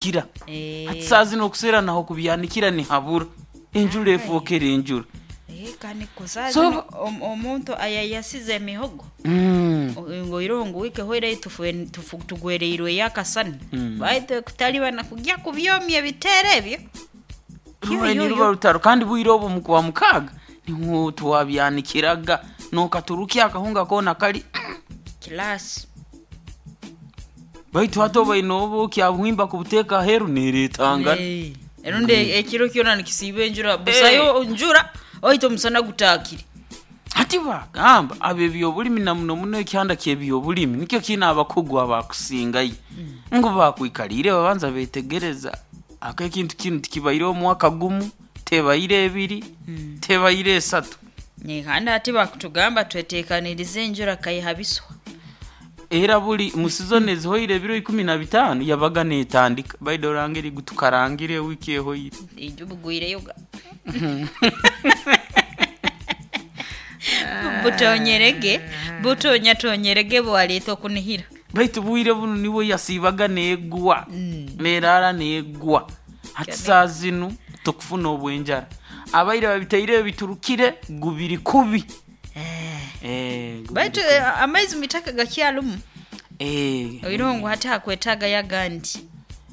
Kira hati saaha zinu okuseera naho kubyanikira nihabura enjura efookere enjura. Kanikusa So omuntu ayayasize emihogo ngoiroho ngu wiiki ehwaire tugwereirweyo akasana, baitu kutalibana kugya kubyomya ebiteera ebyo. Ruba niruba rutaro kandi bwire obu mukwa mukaaga niho twabyanikiraga nokaturukya akahunga koona kali Kilaasi. Baitu hati obaine obu kyabuhimba kubuteeka aheeru neeretangana. Rundi ekiro kyona nikisiiba enjura, busayo njura baitu omusana gutaakire. Hati baagamba ab'ebyobulimi na muno muno ekyanda ky'ebyobulimi nikyo kiine abakugu abakusingayo ngu baakwikaliire babanza beetegereza aka ekintu kinu tikibaireho omwaka gumu, tebaire ebiri, tebaire esatu. Kandi hati bakutugamba twetekanirize enjura kaihabiswa. Era buli mu sizoni ezihoire ebiro 15 yabaga neetandika baitu oranga eri tukarangire wiiki ehoire. Ijo bugwireyo ga. Butonyerege, butonyatonyerege bwaleeta okunihira. Baitu bwire bunu nibwo yasiibaga neegwa, neeraara neegwa. Hati saaha zinu tukufuna obw'enjara. Abaire babitaireyo biturukire gubiri kubi. Gubiri Baitu kubi. amaizi mwitaka gakyarumu. Oihireho ngu hati hakwetaagayo agandi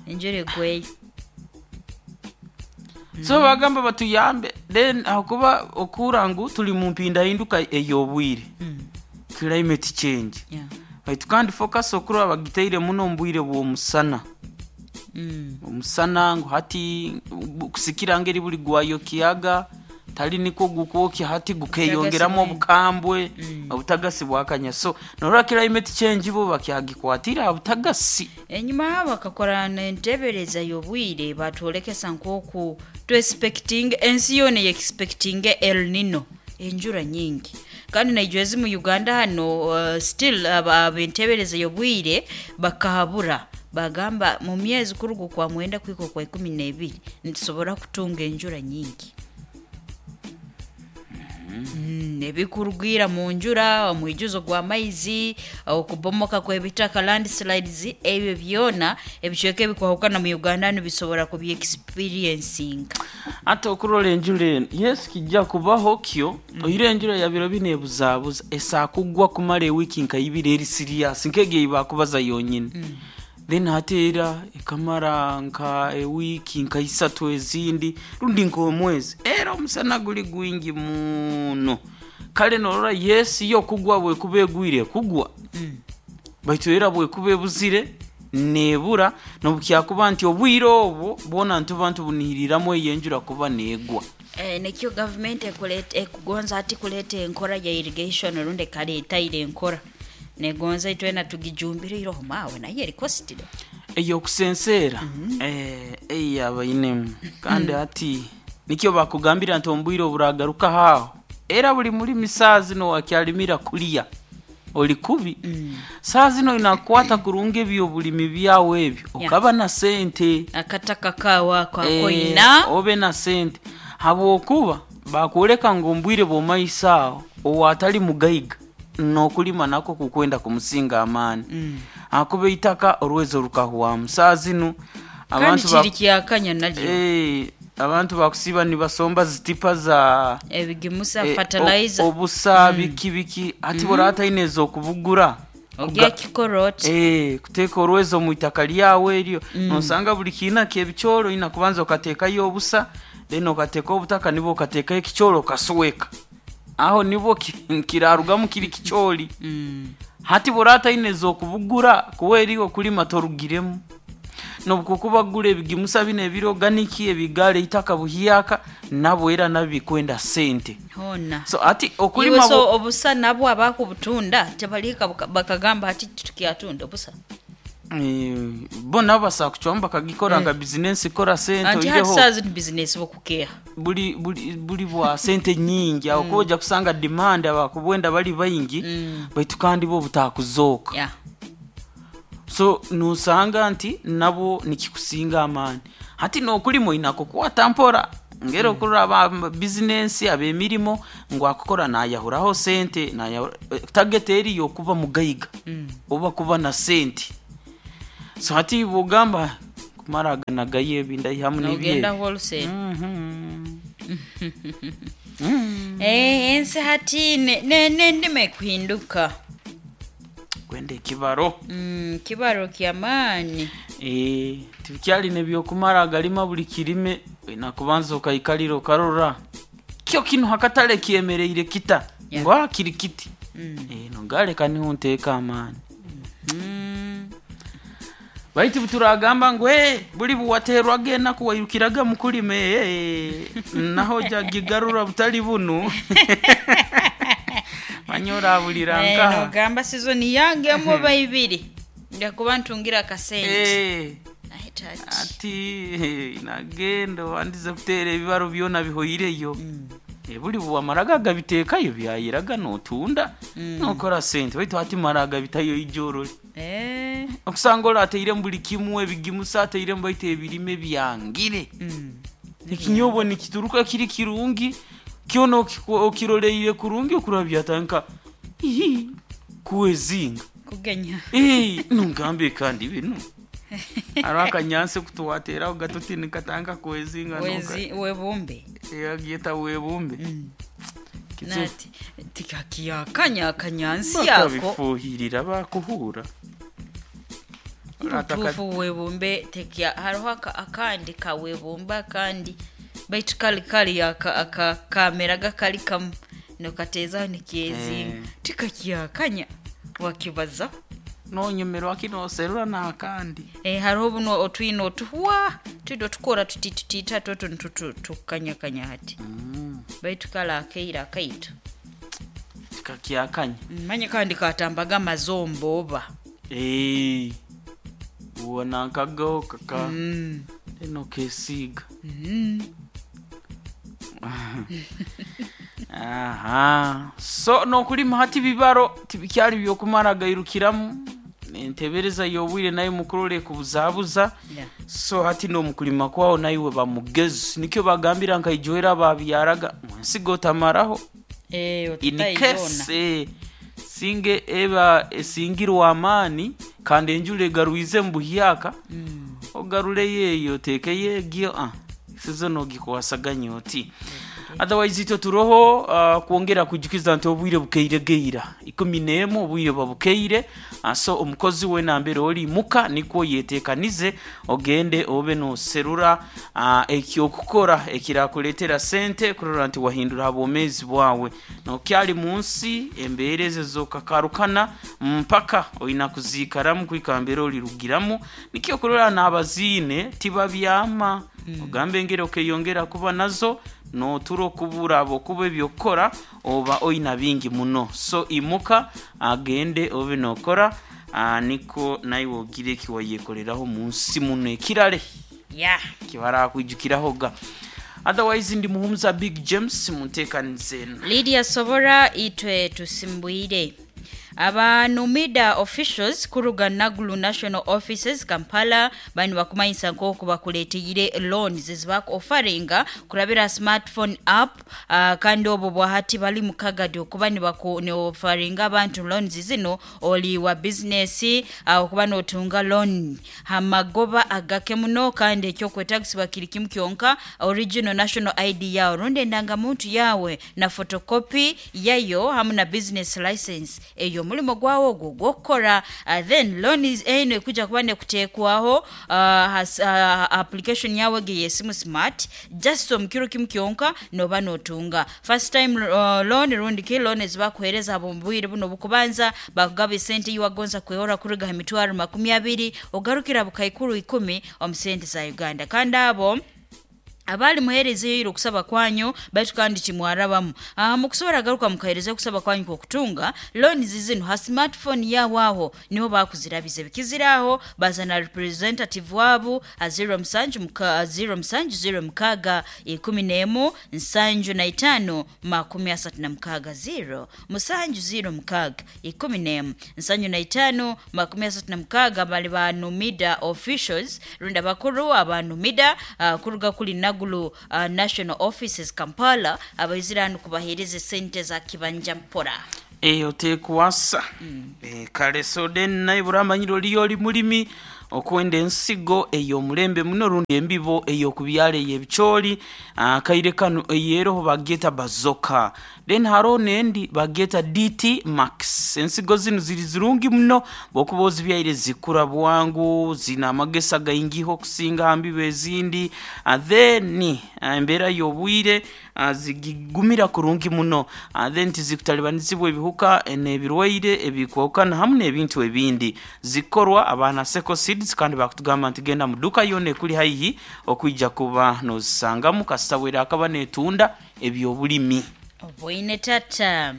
enjura egweyo. So bagamba batuyambe then ahakuba okuhurra ngu turi mu mpindahinduka ey'obwire, climate change. Baitu kandi focus okurora bagitaire muno omu bwire bw'omusana. Omusana ngu hati kusikira ngeri buli gwayokyaga tali nikwo gukwokya hati gukeyongeramu obukambwe, obutagasi bwakanya. So norora climate change bo bakyagikwatire aha butagasi. Enyuma aho bakakora n'enteebereza y'obwire batwolekesa nk'oku twesipekitinga ensi yoona eyekisipekitinga El Nino enjura nyingi. Kandi naija ezi mu Uganda hanu still ab'enteebereza y'obwire bakahabura bagamba mu myezi kuruga okwa mwenda kuhika okwa 12 nitusobora kutunga enjura nyingi. Ebikurugiira mu njura, omwijuzo gw'amaizi, okubomoka kw'ebitaka landslides, ebyo byona ebicweka ebikwahukana mu Uganda nibisobora kubyexperiencinga. Hati okurora enjura enu, yes kijja kubaho kyo, oihireho enjura ya biro binu ebuzaabuza, esaa kugwa kumara ewiiki nka ibiri eri serious nk'egi ei baakubaza yonyini. Then hati era ekamara nka ewiiki nka isatu ezindi rundi nk'omwezi, era omusana guli gwingi muno. Kale norora yes yo kugwa bwekuba egwire ekugwa, baitu era bwekuba ebuzire neebura n'obukyakuba nti obwire obwo bwona nituba ntubunihiriramu eyo enjura kuba neegwa. Nikyo gavumenti ekugonza hati kuleeta enkora ya irrigation rundi ekaleeta ira enkora. Negonza itwena tugijumbire iroho maawe nayo eri costly. Ey'okusenseera eyo abainemu kandi hati nikyo bakugambira nti omu bwire oburagarukaho aho era buli mulimi saaha zinu owakyalimira kulya ori kubi. Saaha zinu oine kukwata kurungi eby'obulimi byawe ebyo okaba na sente. Akataka kaawe ako akoina. Obe na sente habwokuba bakwoleka ngu omu bwire bw'omumaiso aho owatali mugaiga n'okulima nakwo kukwenda kumusinga amaani ahakuba eitaka orwezo rukahwamu. Saaha zinu Kandi abantu kiri kyakanya nalyo. Abantu bakusiiba nibasomba zitipa za Ebigimusa, fertilizer. Obusa biki biki hati bworaba otaine ez'okubugura Ogya kikora oti? Kuteeka orwezo omu itaka ryawe eryo nosanga buli kiina ky'ebicoori oine kubanza okateekayo obusa then okateekaho obutaka nibwo okateekaho ekicoori okasweka. Aho nibwo kirarugamu kiri kicoori. Hati bworaba otaine ez'okubugura kuba eri okulima torugiremu. N'obukukuba kugura ebigimusa binu ebiri organic ebigaara eitaka buhyaka nabwo era nabyo bikwenda sente. Hoona. So hati okulima Iwe so obusa nabwo abakubutunda tibalihika bakagamba hati titukyatunda obusa? Bo nabo basobola kucwamu bakagikora nka bizinensi kukora sente Anti hati oihireho saaha zinu bizinensi bukukeeha. buri bwa sente nyingi ahakuba oija kusanga demand abakubwenda bari baingi baitu kandi bwo butakuzooka. So nosanga nti nabwo nikikusinga amaani. Hati n'okulima oine kukwata mpora ngeri okurora aba bizinensi ab'emirimo ngu akukora naayahuraho sente target eri y'okuba mugaiga oba kuba na sente. So hati bwogamba Kumara aganagayo ebi ndaihamu nibyo Nogenda ebi. wholesale. Mhm. Eh, ensi hati nendima ekuhinduka. Gwenda ekibaro. Kibaro kyamaani. Eh, tibikyali nebyokumara agalima buli kirime, olina kubanza okaikalira okarora kyo kinu hakatale kyemereire kita. Yeah. Ngu kiri kiti. Eh, nogaleka niho nteeka amaani. Baitu buturagamba ngu "Eh, buli buwaterwaga enaku wairukiraga mukulima, eh, naho jagigarura butali bunu." Manya orabulira Eh, nkaha. nogamba sizoni yange omuba ibiri njakuba ntungira akasente. Eh, Aye, tati. ati nagenda obandize kuteera ebibaro byona bihoireyo. Eh, buli buwamaraga agabiteekayo byayiraga notunda nokora sente, baitu hati mara agabitayo ijorole. Eh, Okusanga orateiremu buli kimu, ebigimusa ateiremu, baitu ebirime byangire. Ekinyobo nikituruka kiri kirungi kyona, okiroleire kurungi okuraba byatanka ihi kuwezinga. Kugenya. Eh, nungambe kandi binu hariho akanyansi kutuwateraho gato tinikatanga kuwezinga. Wezi webumbe. Yagiyeta webumbe. Kizibu. Nati tikakiyakanya akanyansi yako. Bakabifuhirira bakuhura. Butuufu webumbe tekya hariho akandi kawebumbe akandi baitu kali kali aka kameraga kali kamu nokateezaho nikyezinga. Eh. Tikakiyakanya wakibaza. Nonyemerwa kinoserura nakandi. Eh, hariho buno otwine otuhwa twine otukora tuti tutitatu otu nitukanyakanya hati. Baitu kale akaire akaitu. Tikakyakanya. Manye kandi katambaga amazombo oba. Eh, ubona nkagaho kaka eno kesiga. Aha, so nokulima hati bibaro tibikyali byokumara gairukiramu, entebereza y'obwire nayo mukurole kubuzabuza. Yeah. So hati nomukulima kwawo naiwe bamugezi, nikyo bagambira nkaijoera babyaraga mwensigo otamaraho. Eh, In otutayiona. case singe eba esingirwa amaani kandi enjura egarwize mu buhyaka, ogaruleyo eyo oteekeyo egyo, sizo nogikwasaganya oti. Otherwise itwe turoho kwongera kujukiza nti obwire bukeire geira 11, obwire babukeire. So omukozi we nambere oli muka nikwo yetekanize ogende obe noserura ekyokukora ekirakuleetera sente kurora nti wahindura obwomeezi bwawe nokyali munsi embeera ezo zokakarukana mpaka olina kuziikaramu kwika mbere olirugiramu, nikyo kurora n'abaziine tibabyama. Ogambe engeri okeyongera kuba nazo notura okubura abo kuba ebyokukora oba oina bingi muno, so imuka agende obe nokora, niko naiwe ogire ekiwayekoleraho munsi muno ekirale Yeah. kibarakwijukirahoga. Otherwise ndi Muhumuza Big James munteekanize. Lydia Sobora, itwe tusimbwire. Aba Numida officials kuruga Nagulu National Offices Kampala bani bakumanyisa nk'oku bakuleeteire loans ezibakuofaringa kurabira smartphone app, kandi obwo bwahati bali mukagadi okuba nibaofaringa abantu loans zino oli wa bizinesi, okuba notunga loan hamagoba agake muno, kandi ekyokwetagisibwa kiri kimu kyonka, original national ID yawe rundi endangamuntu yawe na photocopy yayo hamu na business license eyo omulimo gwawo ogwo gwokukora. Then loan eno ekuja kuba nekuteekwaho application yawe ge yesimu smart, just omukiro kimu kyonka noba notunga first time loan rundi ki loan ezibakuhereza abo mubwire buno obukubanza bakugaba esente yiwagonza kwehora kuruga ha 200,000 ogarukira 10,000 omu sente za Uganda. Kandi abo abali muherezeyo iro okusaba kwanyu baitu kandi kimwarabamu, mukusobora garuka mukahereza okusaba kwanyu kwokutunga loans zino ha smartphone yawe aho niho bakuzirabize bikiziraho bazana representative wabu ha 0 musanju muka 0 musanju 0 mukaga 11 75 36 0 musanju 0 mukaga 11 75 36. Bali ba Numida officials runda bakuru aba Numida, kuruga kuli Nagulu National Offices Kampala abaiziranu kubahereza sente za kibanja mpora. Eyo tekuwasa. Kale so then naye buramanyire oliyo oli mulimi. Okwenda ensigo ey'omulembe muno rundi embibo ey'okubyala ey'ebicooli, kaire kanu eyeroho bagyeta Bazoka. Then haroho n'endi bagyeta DT Max. Ensigo zinu ziri zirungi muno, bw'okuba ozibyaire zikura bwangu, zina amagesa gaingiho okusinga ha mbibo ezindi. Then embeera y'obwire zigigumira kurungi muno. Then tizikutalibanizibwa ebihuka n'ebirwaire ebikwahukana hamu n'ebintu ebindi. Zikorwa abaana Seko Seeds, kandi bakutugamba nti genda mu duka yoona ekuli haihi okwija kuba n'ozisangamu kasita bwera akaba neetunda eby'obulimi. Obwoine tata.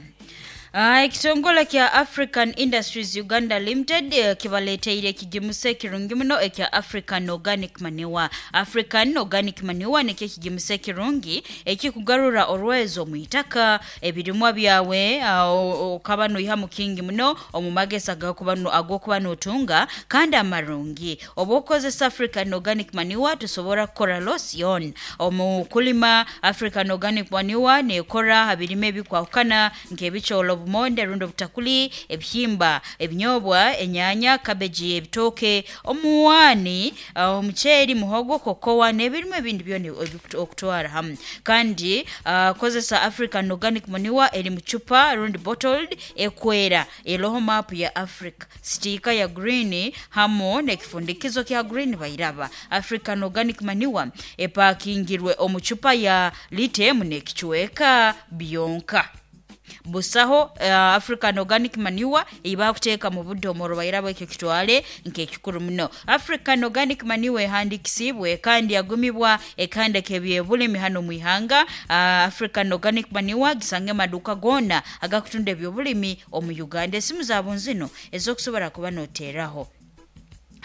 Ekitongole kya African Industries Uganda Limited kibaleeteire ekigimusa ekirungi muno ekya African Organic Manure. African Organic Manure nikyo ekigimusa ekirungi ekikugarura orwezo omu itaka, ebirimwa byawe okaba noihamu kingi muno omu magesa ag'okuba notunga kandi amarungi. Obu okozesa African Organic Manure tosobora kukora loss yoona. Omu kulima African Organic Manure neekora ha birime ebikwahukana nk'ebicooli, obumonde rundi obutakuli, ebihimba, ebinyobwa, enyaanya, cabbage, ebitooke, omuwaani, omuceeri, muhogo, kokowa n'ebirime ebindi byona okutwara hamu. Kandi kozesa African Organic Manure eri mu cupa rundi bottled ekwera eroho maapu ya Africa, sitiika ya green hamu n'ekifundikizo kya green bairaba. African Organic Manure epakingirwe omu cupa ya lita emu n'ekicweka byonka. Busaho African Organic Manure ei bakuteeka mu budomoro bairaba, ekyo kitwale nk'ekikuru muno. African Organic Manure ehandikisiibwe kandi yagumibwa ekanda k'ebyobulimi hanu omu ihanga. African Organic Manure gisange amaduuka goona agakutunda ebyobulimi omu Uganda. Esimu zaabo nzino ez'okusobora kuba nooteeraho: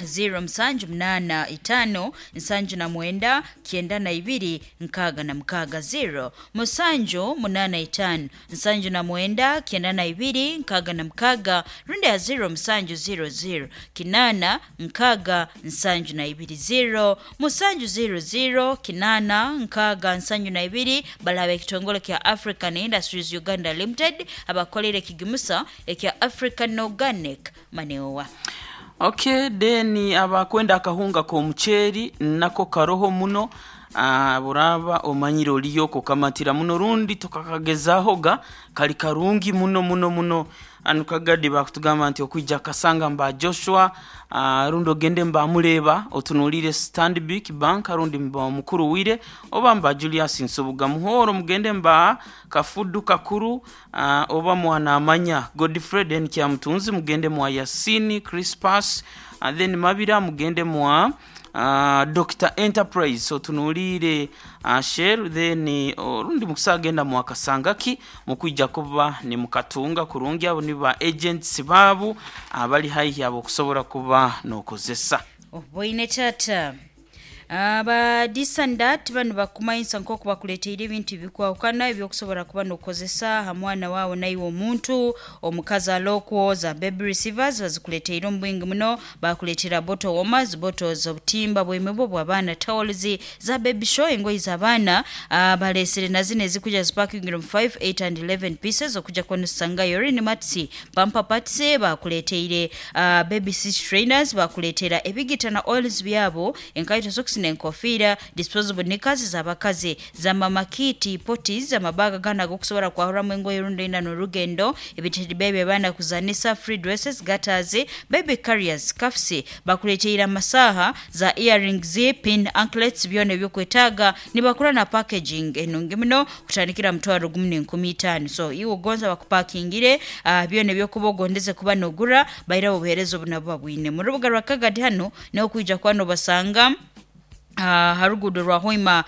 0 musanju munaana itaano nsanju na mwenda kyenda na ibiri nkaaga na mukaaga, 0 musanju munaana itaano nsanju na mwenda kyenda na ibiri nkaaga na mukaaga, rundi ya 0 musanju 00 kinaana nkaaga nsanju na ibiri, 0 musanju 00 kinaana nkaaga nsanju na ibiri. Balaba ekitongole kya African Industries Uganda Limited abakolera ekigimusa ekya African Organic Manure. Okay, then abakwenda akahunga k'omuceeri nako karoho muno. Buraba omanyire oliyo kukamatira muno rundi tokakagezahoga, kali karungi muno muno muno. Anu kagadi bakutugamba nti okwija kasanga mba Joshua, rundi ogende mba Muleba otunuulire Stanbic Bank, rundi mba mukuru wire oba mba Julius Nsubuga Muhoro, mugende mba Kafudu Kakuru, oba mwana amanya Godfrey Den Kyamutunzi, mugende mwa Yasini Crispas, and then Mabira mugende mwa Dr Enterprise otunuulire Shell, then orundi mukusagenda mwakasangaki mukwija kuba ni mukatunga kurungi. Abo ni ba agents baabo abali haihi abo okusobola kuba n'okozesa. Obwoine tata. Aba Disandat bano bakumanyisa nk'oku bakuleteire ebintu bikwahukana ebyokusobora kuba nokozesa ha mwana waawe naiwe omuntu omukazi alokwo. Za baby receivers bazikuleteire omu bwingi muno, bakuleetera bottle warmers, bottles, obutimba bw'emibu bw'abaana, towels za baby show, engoyi z'abaana. Balesere na zino ezikuja zipakingire mu 5, 8 and 11 pieces okuja kuba nozisangayo. Rini mats, pamper pads bakuleteire, baby seat trainers bakuleetera, ebigita na oils byabo, enkaito, socks n'enkofiira, disposable knickers z'abakazi, za mama kit, potis, amabaga gana ag'okusobora kwahuramu engoye rundi oina n'orugendo, ebitedi bebi abaana kuzanisa, free dresses, gaiters, baby carriers, scarfs, bakuleteire amasaaha za earrings, pin anklets, byona ebyokwetaaga nibakora na packaging enungi muno kutandikira 1500. So iwe ogonza bakupakingire byona ebyokuba ogondeze kuba nogura, bairaho obuheereza obu nabo babwine mu rubuga rwa Kagadi. Hano niho kwija kuba nobasanga ha ruguudo rwa Hoima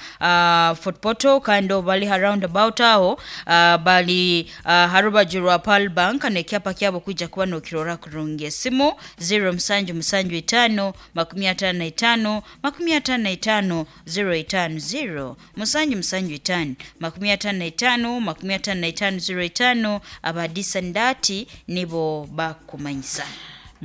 Fort Portal, kandi obu bali ha roundabout aho, bali ha rubaju rwa Pearl Bank n'ekyapa kyabo kwija kuba nokirora kurungi. Esimu 0 musanju musanju itaano 55 55 05, 0 musanju musanju itaano 55 55 05. Abadisandati nibo bakumanyisa.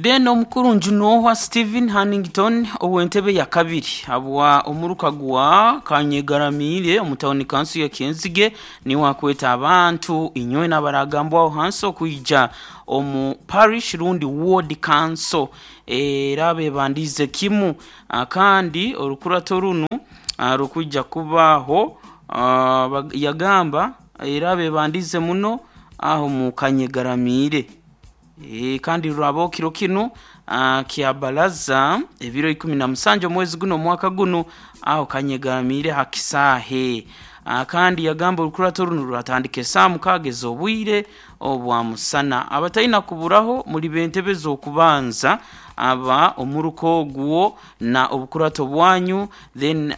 Then omukuru Njunohwa Stephen Hannington ow'entebe ya kabiri habwa omuruka gwa Kanyegaramiire omu tawuni kanso ya Kyenzige niwe akweta abantu inywe n'abaragambwaho hansi okwija omu parish rundi ward council era bebandiize kimu. Kandi orukurato runu rukwija kubaho, yagamba era bebandiize muno aho mu Kanyegaramiire. Kandi rurabaho kiro kinu kya baraza ebiro 17 omwezi guno omwaka guno aho Kanyegaramiire ha kisaahe. Kandi yagamba orukurato runu ruratandika esaaha 6 ez'obwire obwa musana. Abataina kuburaho muri b'entebe z'okubanza aba omuruka ogwo na obukurato bwanyu, then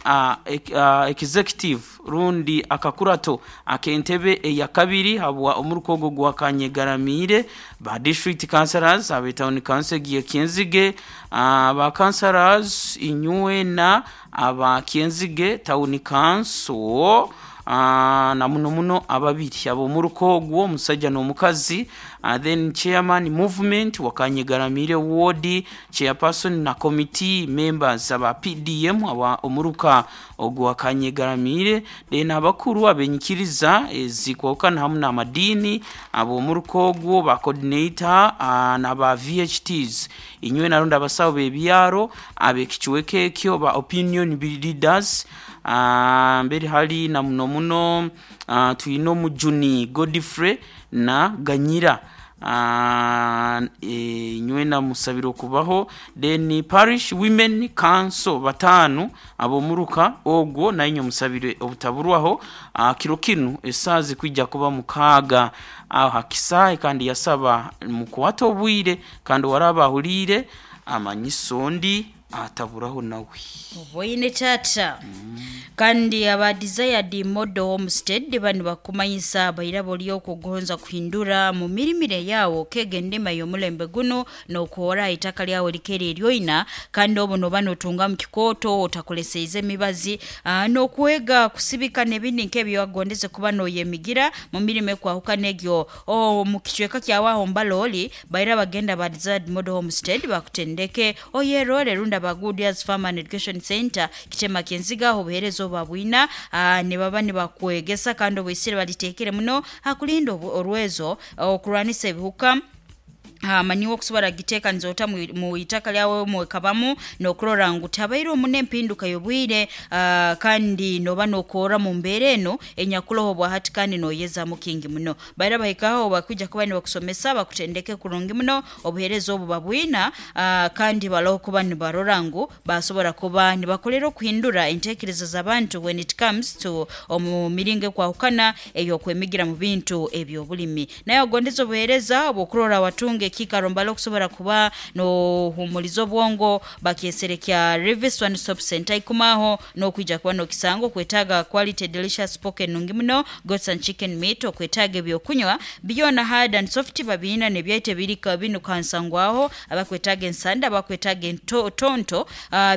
executive rundi akakurato ak'entebe eya kabiri habwa omuruka ogwo gwa Kanyegaramiire, ba district councillors abe town council egiye Kyenzige, ba councillors inywena aba Kyenzige town council, na muno muno ababiri ab'omuruka ogwo omusajja n'omukazi, then chairman movement wa Kanyegaramiire ward, chairperson na committee members aba PDM aba omuruka ogwa Kanyegaramiire, then abakuru abenyikiriza ezikwahukana hamu n'amadiini ab'omuruka ogwo ba coordinator n'aba VHTs inywe narundi abasawo b'ebyaro ab'ekicweka ekyo ba opinion leaders, mbere hali na muno muno twine omujuni Godfrey na Ganyira, inywena musabire okubaho. Then parish women council 5 ab'omuruka ogwo nainywe musabire obutaburwaho. Kiro kinu esaaha zikwija kuba 6 aho ha kisaahe, kandi yasaba mukwate obwire kandi waraba ahuliire amanyiso ndi ataburaho nawe. Oboine tata. Kandi aba Desired Model Homestead bani bakumanyisa bairabo okugonza kuhindura mu mirimire yawo kega endima y'omulembe guno n'okuhora itaka lyawe likere eryoina, kandi obu noba notunga mu kikooto otakoleseize emibazi, n'okwega kusibika n'ebindi nk'ebyo wagondeze kuba noyemigira mu mirimo ekwahukana egyo mu kicweka kyawe aho mbalooli baira bagenda ba Desired Model Homestead bakutendeke oyerore runda ba Good Years Farm and Education Center kitema Kyenziga aho obuheereza obu babwina, nibaba nibakwegesa kandi obwisire balitekere muno hakulinda orwezo okurwanisa ebihuka, maniwe okusobora giteekaniza ota mu itaka lyawe mwekabamu n'okurora ngu tabaire omu n'empinduka y'obwire, kandi noba nokorra mu mbeera eno enyakuroho bwahati kandi noyezamu kingi muno. Baira bahikaho bakwija kuba nibakusomesa bakutendeke kurungi muno obuheereza obu babwina, kandi baloho kuba nibarora ngu basobora kuba nibakolera okuhindura entekereza z'abantu when it comes to omu miringo ekwahukana ey'okwemigira mu bintu eby'obulimi. Naye ogondeza obuheereza obw'okurora watunga ekiikaro mbali okusobora kuba nohumuliza obwongo bakyesere kya Rivis One Stop Center ikumaho n'okwija kuba n'okisanga okwetaaga quality delicious pork enungi muno, goats and chicken meat, okwetaaga ebyokunywa byona hard and soft babiina n'ebyaito ebiri binukansangwaho, abakwetaaga ensanda, abakwetaaga entonto,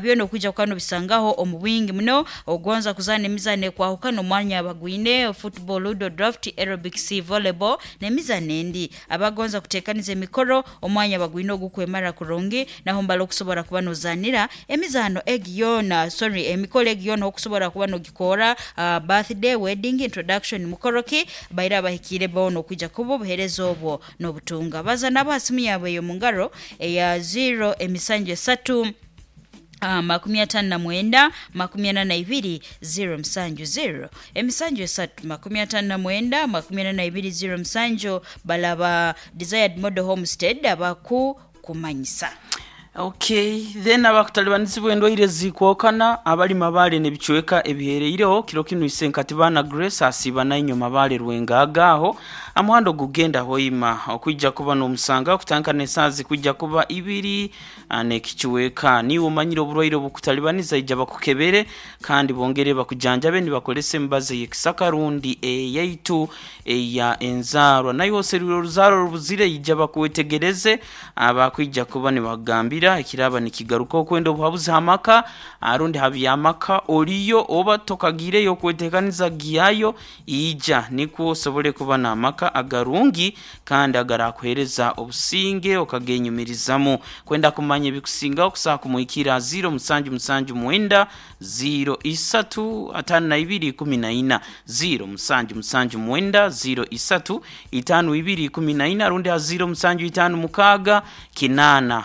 byona okwija kuba nobisangaho omu bwingi muno. Ogonza kuzaana emizaano ekwahukana omwanya bagwine football, ludo, draft, aerobics, volleyball n'emizaano endi. Abagonza kuteekaniza emikoro omwanya bagwine ogukwemara kurungi naho mbali okusobora kuba nozaanira emizaano egi yoona, sorry, emikoro egi yoona okusobora kuba nogikora, birthday, wedding, introduction, mukoro ki baira abahikiire boona okwija kuba obuheereza obwo n'obutunga. Baza nabo ha simu yaabwe ey'omu ngaro eya 0 emisanju esatu, 59 42 0 70 emisanju esatu 59 42 07 balaba Desired Model Homestead abaku kumanyisa. Okay, then abakutalibanizibwa endwaire zikwokana abali Mabale n'ebicweka ebihereireho kiro kinu Isenkati baana Grace asiiba nainywe Mabale Rwengaga aho amuhanda ogugenda Hoima okwija kuba n'omusanga okutandika n'esaaha zikwija kuba 2 n'ekicweka. Niiwe omanyire oburwaire obukutalibaniza ija bakukebere kandi bongere bakujanjabe nibakolesa emibazi ey'ekisaka rundi eyaitu eya enzaarwa. Naiwe oserwire oruzaaro orubuzire ija bakwetegereze abakwija kuba nibakugambira. Ekira ekiraba nikigaruka okwenda obuhabuzi ha maka, rundi ha by'amaka oliyo oba tokagiireyo okweteekaniza gyayo, ija nikwo osobole kuba n'amaka agarungi kandi agarakuheereza obusinge okagenyumirizamu. Kwenda kumanya ebikusingaho kusobola kumuhikirra ha 0779 03 52 14, 0779 03 52 14, rundi ha 0756 8 51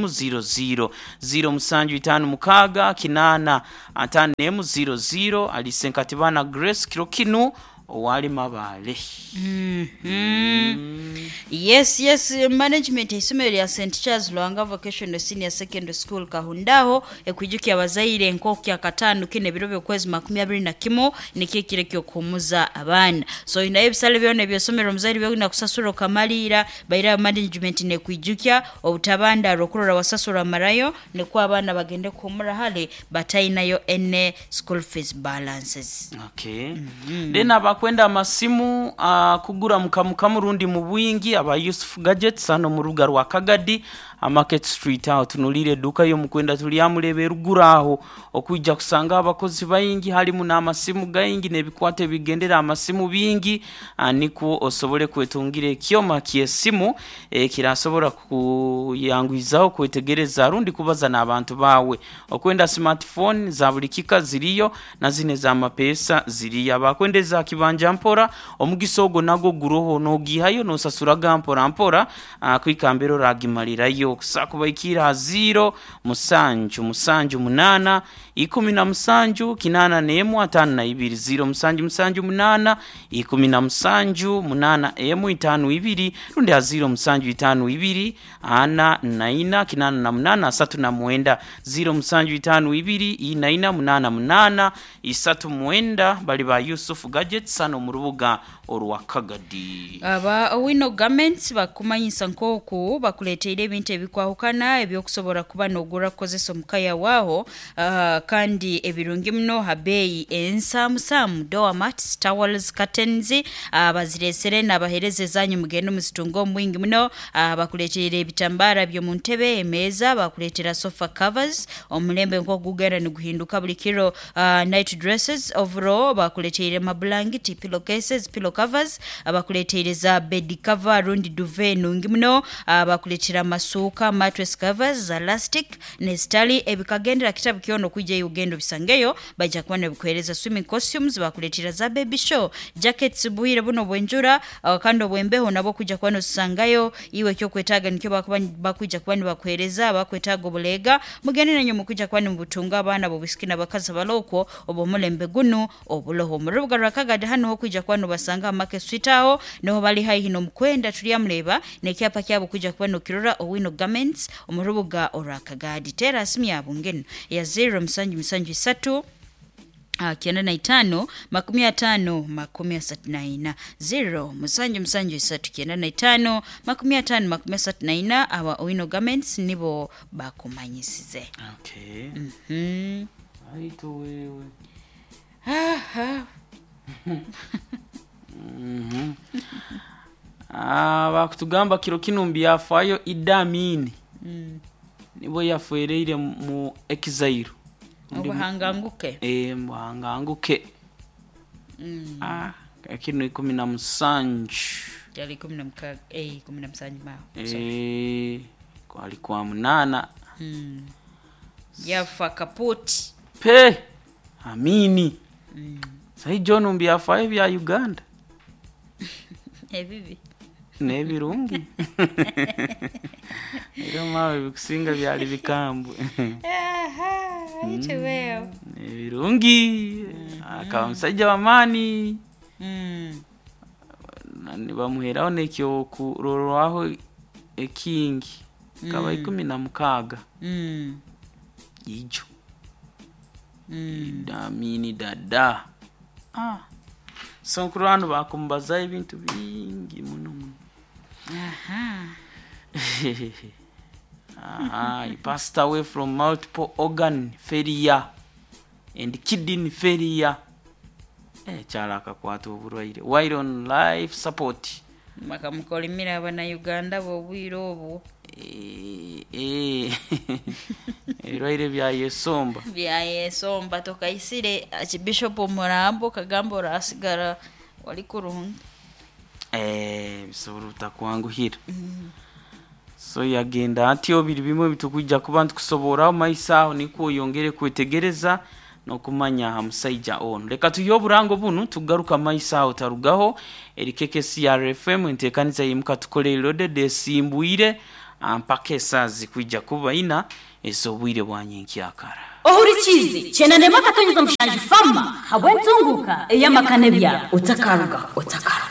00, 0756 8 51 00. Alice Nkatibana Grace kiro kinu owali Mabale. Yes, yes, management eisomero lya St Charles Lwanga Vocational Senior Secondary School Kahundaho ekwijukia abazaire nk'oku kyakataano kino ebiro by'okwezi 21 nikyo ekiro ekyokuhumuza abaana. So inayo ebisale byona ebyosomero omuzaire byolina kusasura okamaliira baira management nekwijukya obutabandara okurora wasasura marayo nikwo abaana bagende kuhumura hale batainayo ene school fees balances. Okay. Then abakwenda amasimu kugura mukamukamu rundi mu bwingi aba Yusuf Gadgets hano mu rubuga rwa Kagadi Market Street, aho tunulire eduka y'omukwenda tulyamuleba eruguru aho okwija kusanga abakozi baingi, halimu n'amasimu gaingi n'ebikwato ebigendera amasimu bingi, nikwo osobole kwetungira ekyoma ky'esimu ekirasobora kuyangwizaho kwetegereza rundi kubaza n'abantu bawe. Okwenda smartphone za buli kika ziriyo na zine za mapesa ziriyo. Abakwenda eza kibanja mpora omugisa ogwo nagwo guroho, nogihayo nosasuraga mpora mpora, kwikambira oragimalirayo. Kusa kubaikira ha 0 7 7 8 17 81 52, 0 7 7 8 17 8 1 52, rundi ha 0 7 5 2 4 4 8 8 3 9, 0 7 5 2 4 8 8 3 9. Bali ba Yusuf Gadgets hano mu rubuga orwa Kagadi. Aba Owino Garments bakumanyisa nk'oku bakuleteire ebintu ebikwahukana ebyokusobora kuba nogura kukozesa omukaya waho, kandi ebirungi muno ha beeyi ensaamusaamu. Doormats, towels, curtains, baziresere nabahereza ezanyu mugende muzitunga omu bwingi muno. Bakuleteire ebitambara by'omu ntebe, emeeza, bakuleetera sofa covers, omulembe nk'okugugenda niguhinduka buli kiro, night dresses, overall bakuleteire amabulangiti, pillow cases, pillow covers, bakuleteire za bed cover rundi duvet nungi muno, bakuleetera amasuuka, mattress covers za elastic nezitali ebikagendera kitabu kyona okwijayo ogenda obisangeyo baija kuba nibikuhereza. Swimming costumes, bakuleetera za baby show jackets bwire buno bwenjura, kandi obwembeho nabwo kwijja kuba nozisangayo. Iwe ekyokwetaaga nikyo bakuba bakwija kuba nibakuhereza. Bakwetaaga obuleega mugende nanywe mukwija kuba nimubutunga abaana b'obwisiki n'abakazi abalokwo obw'omulembe gunu obuloho mu rubuga rwa Kagadi. Hano hokwija kuba nobasanga Market Street, aho niho bali haihi n'omukwenda tulyamuleba n'ekyapa kyabo kwija kuba nokirora. Owino Garments omu rubuga orwa Kagadi, teera simu yabo ngenu ya 0 7 7 3 95 50 34, 0 7 7 3 95 50 34. Aba Owino Garments nibo bakumanyisize. Okay. Aito wewe. Aha. Bakutugamba kiro kinu mbyafayo Idi Amin nibo yafereire mu exile. Obuhanganguke. Muhanganguke. Kino 17. Kyali 16, 17 maho. Sorry. Kwali kwa 8. Yafa kaputi. Pe Amini. Sahi John mbyafayo bya Uganda ebibi n'ebirungi era mawe bikusinga byali bikambwe. Aha, aite wewe. Ebirungi akaba musajja w'amaani. Nibamuheraho nekyokurorwaho ekingi kaba 16. Ijo Idamini dada, so nkuru hano bakumbazaho ebintu bingi muno muno. Aha. He passed away from multiple organ failure and kidney failure. Kyala akakwata oburwaire while on life support. Bakamukolimira abanauganda b'obwire obwo. Eh, ebirwaire byayesomba. Byayesomba tokaisire archbishop omurambo kagamba orasigara wali kurungi. Bisobora obutakwanguhira. So yagenda atyo, biri bimwe bitukwija kuba ntukusoboraho maiso aho, nikwo oyongere kwetegereza n'okumanya aha musaija ono. Leka tuyihe oburango bunu, tugaruka maiso aho, tarugaho. Eri KKCR FM, enteekaniza yimuka tukole loaded esimbwire mpaka esaaha zikwija kuba ina ez'obwire bwa nyenkyakara. Ohurikiize 91.7 Fama habw'entunguka ey'amaka n'ebyaro. Otakarugaho, otakarugaho.